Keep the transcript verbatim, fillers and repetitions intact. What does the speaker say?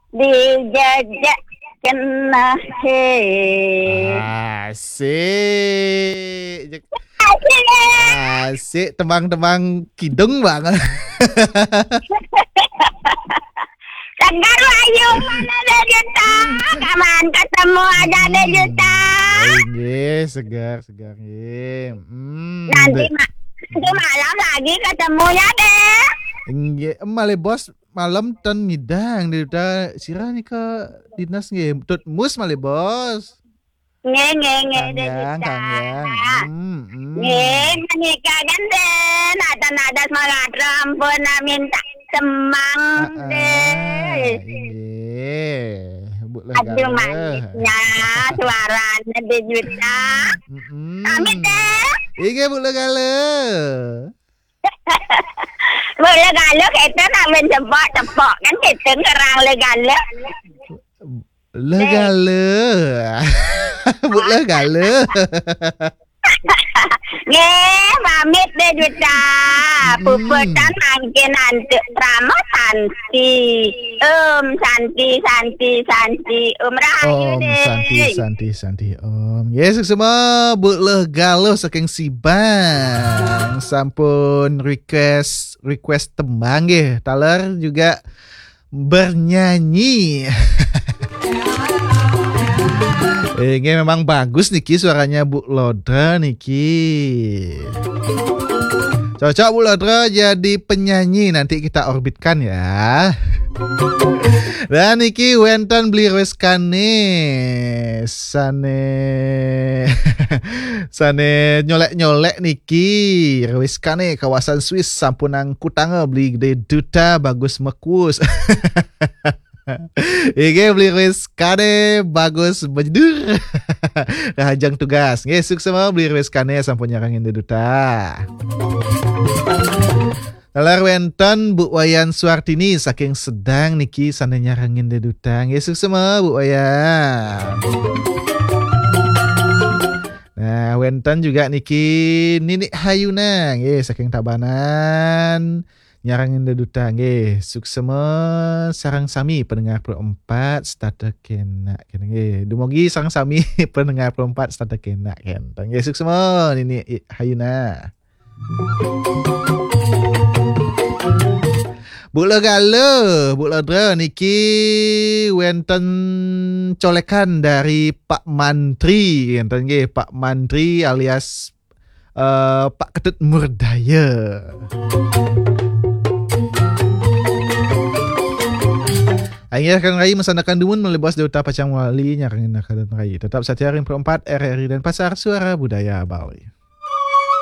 Dijajak kena he. Asik. Asik. Asik, tembang-tembang kidung banget. Segar Wahyu, mana Dek Juta? Kapan ketemu aja Dek Juta? Inggih, segar, segar nggih. Hmm, Nanti Dek. Ma-, nanti malam lagi ketemunya, Dek. Inggih, em, malih bos malam ten ngidang Dek Juta. Sira nika dinas nggih, tut mus malih bos. Nggih, nggih, nggih, Dek Juta. Kang Yang, Kang Yang. Hmm, hmm. Nggih, menika kan, Dek, nada-nada semangat ampun, minta semang, Heeh, Dek. Inggih. Bu Leh Aduh, Gala. Manisnya suaranya Dek Juta. Mm-mm. Pamit, Dek. Inggih, Bu Leh Gala. Bu Leh Gala, kita nak main tepok-tepok kan, kita ngerang Leh Gala. Leh Gala. Bu Leh Gala. Nggih, pamit Dek Juta. Mm-mm. Puputan mangkin antuk Rama Santi. Om Santi, Santi, Santi. Om Rahayu, Om Dek. Santi, Santi, Santi, Om. Nggih, suksma Bu Leh Gala saking Sibang. Sampun request, request tembang nggih. Taler juga bernyanyi. Ini memang bagus niki suaranya Bu Lodra niki. Cocok Bu Lodra jadi penyanyi, nanti kita orbitkan ya. Dan niki wenten Beli Reskane sane sane nyolek-nyolek niki. Reskane kawasan Swiss, sampunang kutanga Beli Gede Duta, bagus mekus. Inggih, Beli Reskane bagus menyedur. Rahajeng tugas. Nggih, suksma Beli Reskane sampun nyarengin Dek Duta. Taler wenten Bu Wayan Suartini saking Sedang niki sane nyarengin Dek Duta. Nggih, suksma Bu Wayan. Nah, wenten juga niki Ninik Hayuna nggih saking Tabanan. Nyarengin Dek Duta nggih. Suksma sareng sami pendengar Pro Empat setata kenak kene nggih. Dumugi sareng sami pendengar Pro Empat setata kenak kene. Nggih, suksma Ninik Hayuna. Bu Leh Gala, Bu Lodra niki wenten colekan dari Pak Mantri, enten nggih, Pak Mantri alias eh, Pak Ketut Murdaya. Akhir kan Rai masanakan dumun malih bos Dek Duta pacang wali nyarengin Rai. Tetap satia ring Pro Empat R R I Denpasar, Suara Budaya Bali.